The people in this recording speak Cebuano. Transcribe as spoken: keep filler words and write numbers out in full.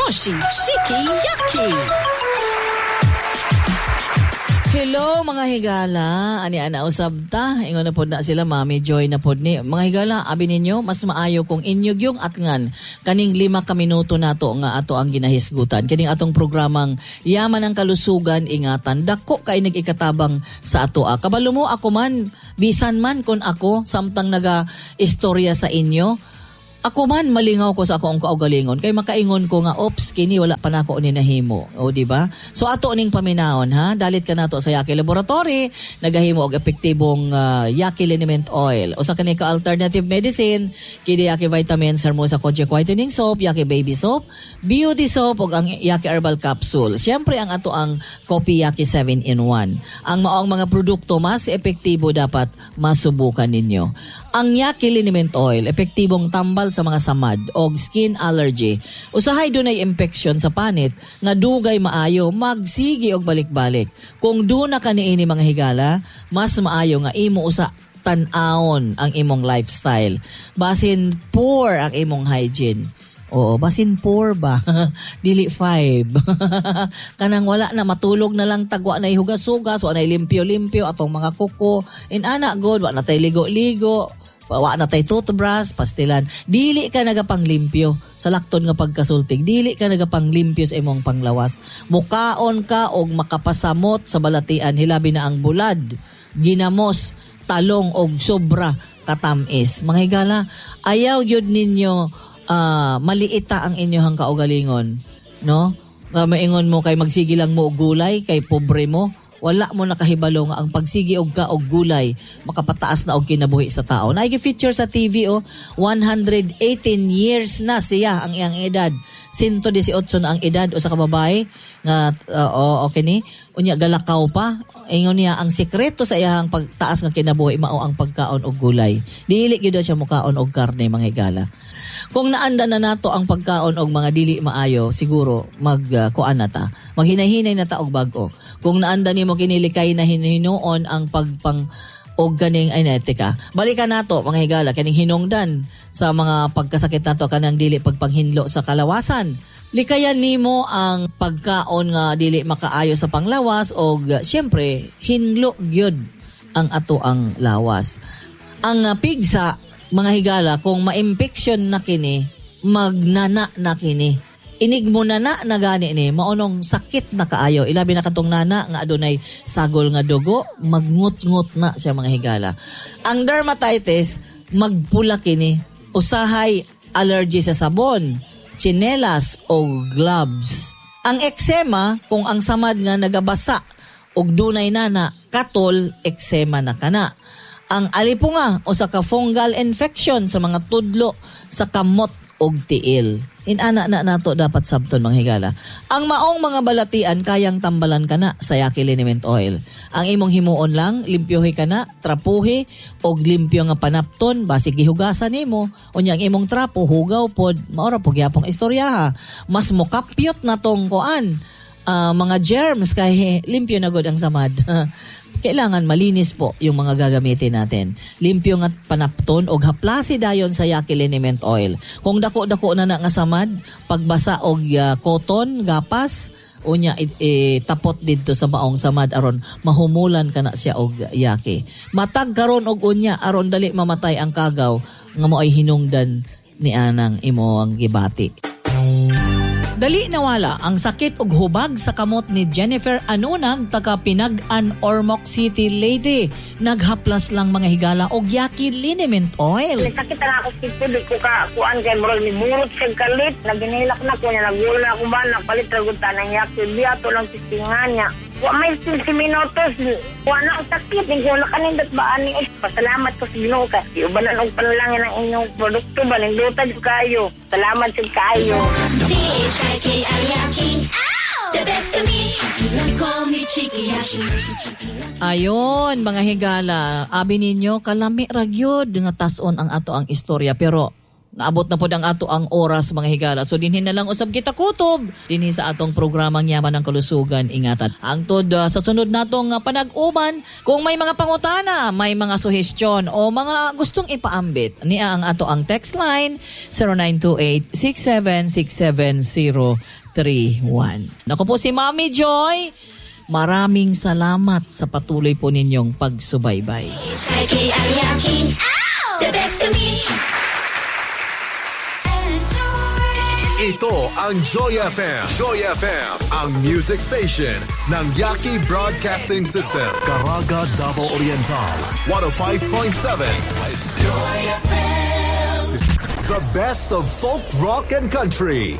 Mushy, Shiki, Yaki. Hello, mga higala, ani ana usab ta. Ingon na pod na sila, Mami Joy na pod ni. Mga higala, abi ninyo, mas maayo kung inyo yung atngan kaning lima ka minuto nato nga ato ang ginahisgutan. Kining atong programang Yaman ang Kalusugan, Ingatan. Dako kay nag-ikatabang sa ato. Ah. Kabalo mo, ako man, bisan man kon ako samtang naga istorya sa inyo, ako man malingaw ko sa akong kaugalingon kay makaingon ko nga, "Ops, kini wala pa nako ni nahimo." O, di ba? So ato ning paminawon, ha. Dalit ka nato sa Yaki Laboratory, nagahimo og epektibong uh, Yaki Liniment Oil. Usa kani ka alternative medicine kini Yaki Vitamins, Hermosa Kojic Whitening Soap, Yaki Baby Soap, Beauty Soap ug ang Yaki Herbal Capsule. Siyempre, ang ato ang Coffee Yaki seven in one. Ang maong mga produkto, mas epektibo, dapat masubukan ninyo ang Yaki Liniment Oil. Epektibong tambal sa mga samad o skin allergy. Usahay dunay infection sa panit nga dugay maayo, magsigi og balik-balik. Kung duna ka niini, mga higala, mas maayo nga imo usa tan-awon ang imong lifestyle. Basin poor ang imong hygiene. Oo, basin four ba? Dili five. Kanang wala na, matulog na lang tagwa na hugas-hugas, wa na limpyo-limpyo atong mga kuko. In ana god, wa na tay ligo-ligo, wa na tay toothbrush, pastilan. Dili ka nagapanglimpyo sa lakton nga pagkasultig. Dili ka nagapanglimpyo sa imong panglawas. Mukaon ka og makapasamot sa balatian, hilabi na ang bulad, ginamos, talong og sobra katamis. Mga higala, ayaw gyud ninyo uh, maliita ang inyong kaugalingon, no? Nga maingon mo kay magsige lang mo og gulay kay pobre mo, wala mo nakahibalo nga ang pagsige og ka og gulay makapataas na og kinabuhi sa tao. Naay feature sa T V, oh, one hundred eighteen years na siya ang iyang edad. one hundred eighteen na ang edad usa ka babae nga uh, oh, okay ni. Unya galakaw pa. Ingon niya, ang sikreto sa iyang pagtaas nga kinabuhi mao ang pagkaon og gulay. Dili gyud siya mukaon og karne, mga higala. Kung naanda na nato ang pagkaon og mga dili maayo, siguro mag uh, kuan na ta. Maghinay-hinay na ta og bag-o. Kung naanda nimo kinilikay na hinuon ang pagpang og ganing ay teka. Balikan nato, mga higala, kaning hinungdan sa mga pagkasakit nato, kanang dili pagpanghinlo sa kalawasan. Likayan nimo ang pagkaon nga dili makaayo sa panglawas og syempre hinlo gyud ang ato ang lawas. Ang uh, pigsa, mga higala, kung ma-infection na kini, magnana na kini. Inig mo na na na gani ni maunong sakit na kaayo, ilabi na katong nana nga adunay sagol nga dugo, magngut-ngut na siya, mga higala. Ang dermatitis, magpula kini, usahay allergy sa sabon, tsinelas o gloves. Ang eczema, kung ang samad nga nagabasa og dunay nana katol, eczema na kana. Ang alipunga, usa ka fungal infection sa mga tudlo sa kamot og tiil. Inana na nato dapat sabton, mga higala. Ang maong mga balatian, kayang tambalan kana sa Yaki Liniment Oil. Ang imong himuon lang, limpyohi kana, trapuhi og limpyo nga panapton, basig gihugasan nimo. Unya ang imong trapo hugaw pod, mao ra po gyapong istorya, ha. Mas mokapyot na tong kuan, uh, mga germs kay limpyo na gud ang samad. Kailangan malinis po yung mga gagamitin natin. Limpyo nga panapton og haplasi dayon sa Yaki Liniment Oil. Kung dako-dako na na nga samad, pagbasa og uh, cotton, gapas, unya it, eh, tapot didto sa maong samad aron mahumulan ka na siya og yaki. Matag karon og unya aron dali mamatay ang kagaw nga mo ay hinungdan ni anang imo ang gibati. Dali nawala ang sakit ug hubag sa kamot ni Jennifer Anunag, taga Pinag-an, Ormoc City, Leyte. Naghaplas lang, mga higala, og Yaki Liniment Oil. Sakit na ako sito, di ko ka kuan kay murag ni burot sa kalit. Naginilak na ko niya, nagulo na ako ba, nagpalit ra gud tanang Yaki. Biya to lang tistingan niya. Wa may fifteen minutos. Wa na ang sakit. Hindi ko na kanindot ba ani. Pasalamat ko sa Ginoo kay iubanan og panalangin ang inyong produkto ba, nindota jud kayo. Salamat jud kaayo. C H I K I Yaki. The best kami. Call me Chiki Yashi. Ayon, mga higala, abi ninyo, kalami ra gyud nga tason ang ato ang istorya, pero Naabot na pod ang ato ang oras, mga higala. So dinhi na lang usab kita kutob dinhi sa atong programang Yaman ng Kalusugan Ingatan. Hangtod uh, sa sunod natong uh, panag-uban, kung may mga pangutana, may mga suhestyon o mga gustong ipaambit, niya ang ato ang text line zero nine two eight, six seven six seven zero three one. Nako po si Mami Joy. Maraming salamat sa patuloy po ninyong pagsubaybay. H I K I yucky. The best kami. Ito ang Joy F M. Joy F M, ang music station ng Yaki Broadcasting System. Caraga, Davao Oriental, one oh five point seven. The best of folk, rock, and country.